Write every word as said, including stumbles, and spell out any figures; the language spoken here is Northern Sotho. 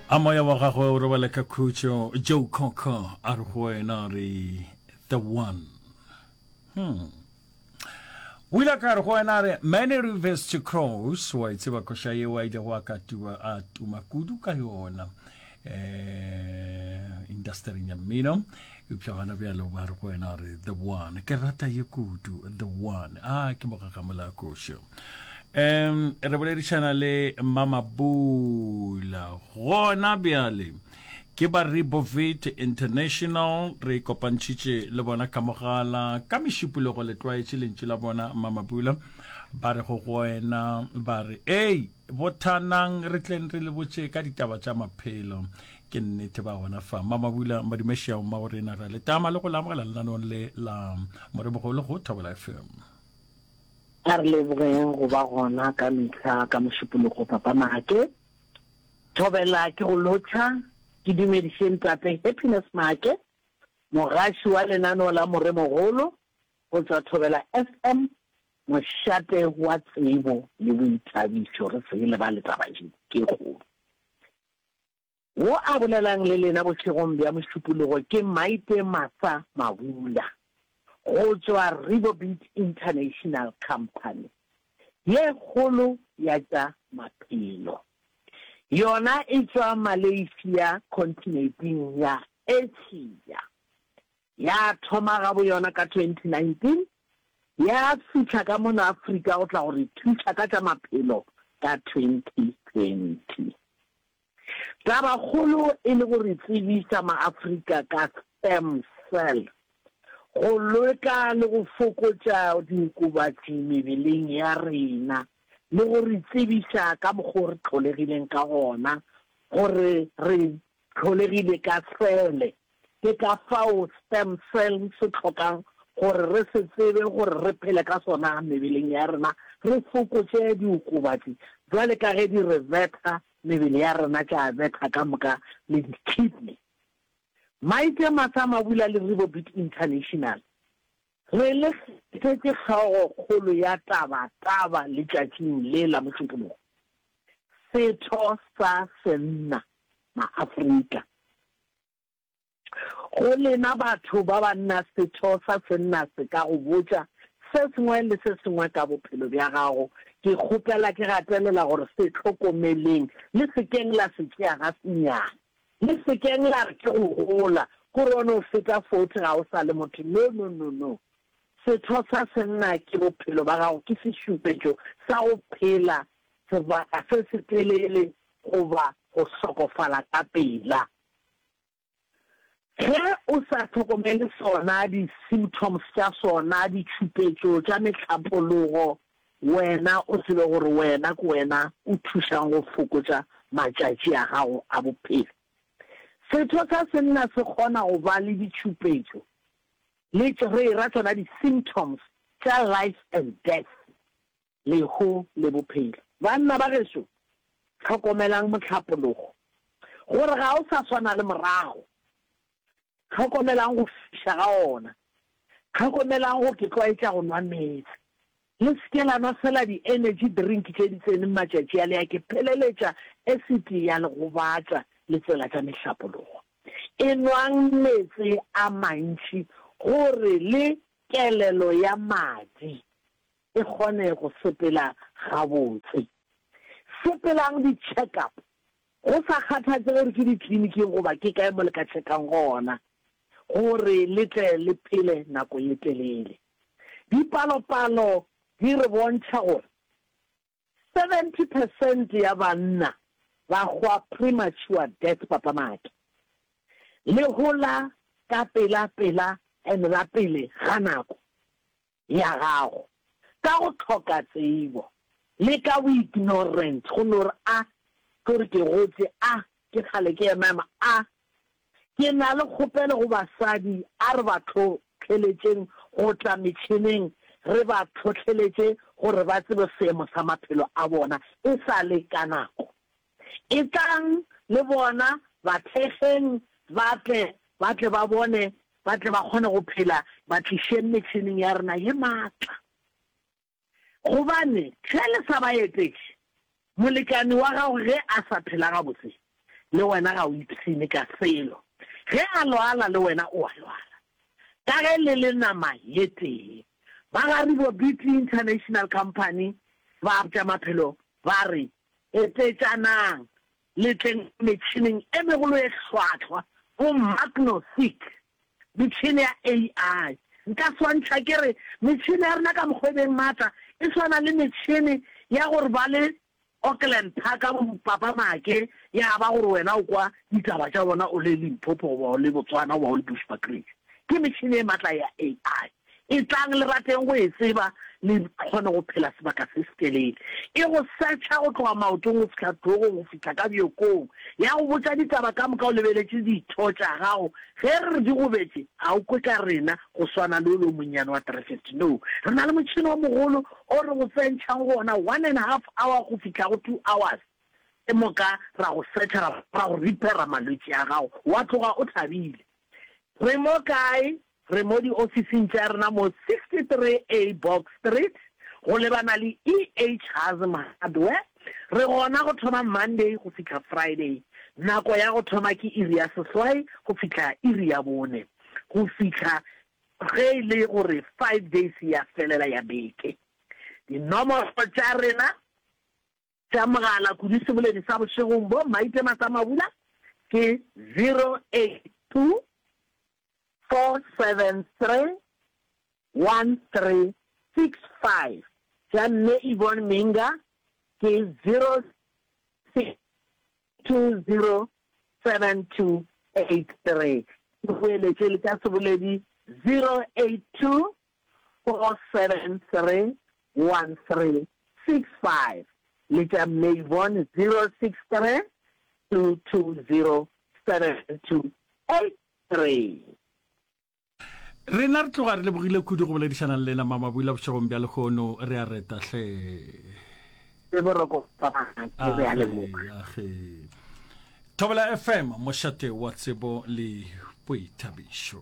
A moya wa gagwe o robale ka khutšo. Joe Cocker a re go wena re the one. Hmm. O ile ka re go wena re many rivers to cross, wa e tseba koša yeo a ilego a ka tuba a tuma kudu ka yona eh industering ya mmino, eupša gona bjalo ba re go wena re the one. Ke rata ye kudu, the one. A ke mogagamela košo. Um re boledišana le Mamabula gona bjale, ke ba Rebovit International, re kopantšhitše le bona ka mogala ka mešupologo. Le tlwaetše lentšu la bona Mamabula, ba re go go wena ba re ei bothanang re tleng re le botše ka ditaba tša maphelo. Ke nnete ba gona fa. Mamabula madumešao mma go rena, ra le tama le go le amogela lenaneong le la Moremogolo go Thobela F M. A re lebogeng go ba gona ka mehla ka mošupologo Papa Make. Thobela ke go lotšha, ke dumediše ntate Happiness Make, mogaši wa lenaneo la Moremogolo go tšwa Thobela F M, mošate wa tsebo le boithabišo. Re se lebale taba ye ke kgolo. Wo a bolelang le lena bošegong bja mošupologo ke Maite Masa Mabula go tšwa Rebobit International Company ye kgolo ya tša maphelo. Yona e tšwa Malaysia kontinenteng ya Asia. Ya thoma gabo yona ka twenty nineteen, ya fihla ka mono Afrika go tla go re thuša ka tša maphelo ka twenty twenty. Tabakgolo e le go re tsebiša maAfrika ka stem cell, go leka le go fokotša diokobatši mebeleng ya rena, le go re tsebiša ka mokgwa o re tlholegileng ka gona, gore re tlholegile ka sele. Ke ka fao stem cell se tlhokang gore re se tsebe gore re phele ka sona mebeleng ya rena, re fokotše diokobatši jwale ka ge di re betha mebele ya rena, tša betha ka moka le di-kidney. Maite Masa Mabula le Rebobit International re le kgethetše hlogokgolo ya taba taba letšatšing le la mošupologo, setho sa senna maAfrika. Go lena batho ba banna, setho sa senna se ka go botša se sengwe le se sengwe ka bophelo bja gago. Ke kgopela ke gatelela gore se hlokomeleng, le sekeng la se tšea ga senyane, le sekeng la re ke go gola gore o no feta forty ga o sa le motho. No, no, no, no. Setho sa senna ke bophelo ba gago, ke sešupetšo sa go phela sebaka se se telele goba go hlokofala ka pela. Ge o sa hlokomele sona, di-symptoms tša sona, ditšhupetšo tša mehlapologo, wena o tsebe gore wena ke wena o thušang go fokotša matšatši a gago a bophelo. Setho sa senna se kgona go ba le ditšhupetšo le re ra tsona di-symptoms tša life and death, lehu le bophelo. Banna ba gešo, hlokomelang mohlapologo gore ga o sa swana le morago. Hlokomelang go fiša ga ona, hlokomelang go ke tlwaetša go nwa meetse. Le se ke la nwa fela di-energy drink tše di tseneng matšatši a le ya ke pheleletša acid ya le gobatša le tsela tša mehlapologo. E nwang meetse a mantši gore le kelelo ya madi e kgone go sepela gabotse. Sepelang di-check-up, go sa kgathatse gore ke ditleliniking goba ke kae mo le ka check-ang gona, gore le tle le phele nako ye telele. Dipalopalo di re bontšha gore seventy percent ya banna ba hwa premature death, Papa Make. Le hola ka pela pela and la pele ga nako ya gago, ka go hloka tsebo le ka bo-ignorant, go no re a ke gore ke gotse, a ke kgale ke ema ema, a ke na le kgopelo go basadi, a re ba tlhotlheletšeng go tla metšhineng, re ba tlhotlheletše gore ba tsebe seemo sa maphelo a bona e sa le ka nako. E tlang le bona ba thekgeng, ba tle, ba tle ba bone, ba tle ba kgone go phela, ba tlišeng metšhineng ya rena ye maatla. Gobane ge le sa ba etetše, molekane wa gago ge a sa phela gabotse, Le wena ga o ipshine ka selo. Ge a lwala le wena o a lwala. Ka ge le le nama ye tee. Ba ga Ribo Beauty International Company ba tša maphelo ba re, Etetšanang le tleng metšhineng e megolo e hlwahlwa, bo Magno-Seek, metšhene ya A I. Nka swantšha ke re metšhene ya rena ka mokgwa e beng maatla e swana le metšhene ya gore ba le Auckland Park bo Papa Make ya ba gore wena o kwa ditaba tša bona o le Limpopo goba o le Botswana goba o le Bushbuckridge. Ke metšhene e matla ya A I. Etlang le rateng go e tseba le kgone go phela sebaka se setelele. E go searcha go tloga maotong go fihla hlogong go fihla ka bjokong. Ya go botša ditaba ka moka o lebeletše ditho tša gago. Ge re re di gobetše, ga o kwe ka rena go swana le ole o monnyane wa three fifty. No. Re na le motšhene o mogolo o re go tsentšhang go ona one and half hour go fihla go two hours. Ke moka ra go searcha ra ra go repaira malwetši a gago wa tloga o thabile. Re mo kae? Re mo diofising tša rena mo sixty three A Box Street, go lebana le E H Hazm Hardware. Re gona go thoma Monday go fihla Friday. Nako ya go thoma ke iri ya seswai go fihla iri ya bone, go fihla ge e le gore five days ya felela ya beke. Dinomoro tša rena tša mogala kudu seboledi sa bošegong bo Maite Matsamabula ke zero eight two four seven three one three six five, tša Mme Yvonne Minga ke zero six two zero seven two eight three. Ke boeletše le tša seboledi zero eight two four seven three one three six five le tša Mme Yvonne zero six three two two zero seven two eight three. Rena re tloga re lebogile kudu go boledišana le lena Mama Bula bošegong bja lehono, re a reta hle. Le boroko Papa Make, re a leboga. Age. Thobela F M, mošate wa tsebo le boithabišo.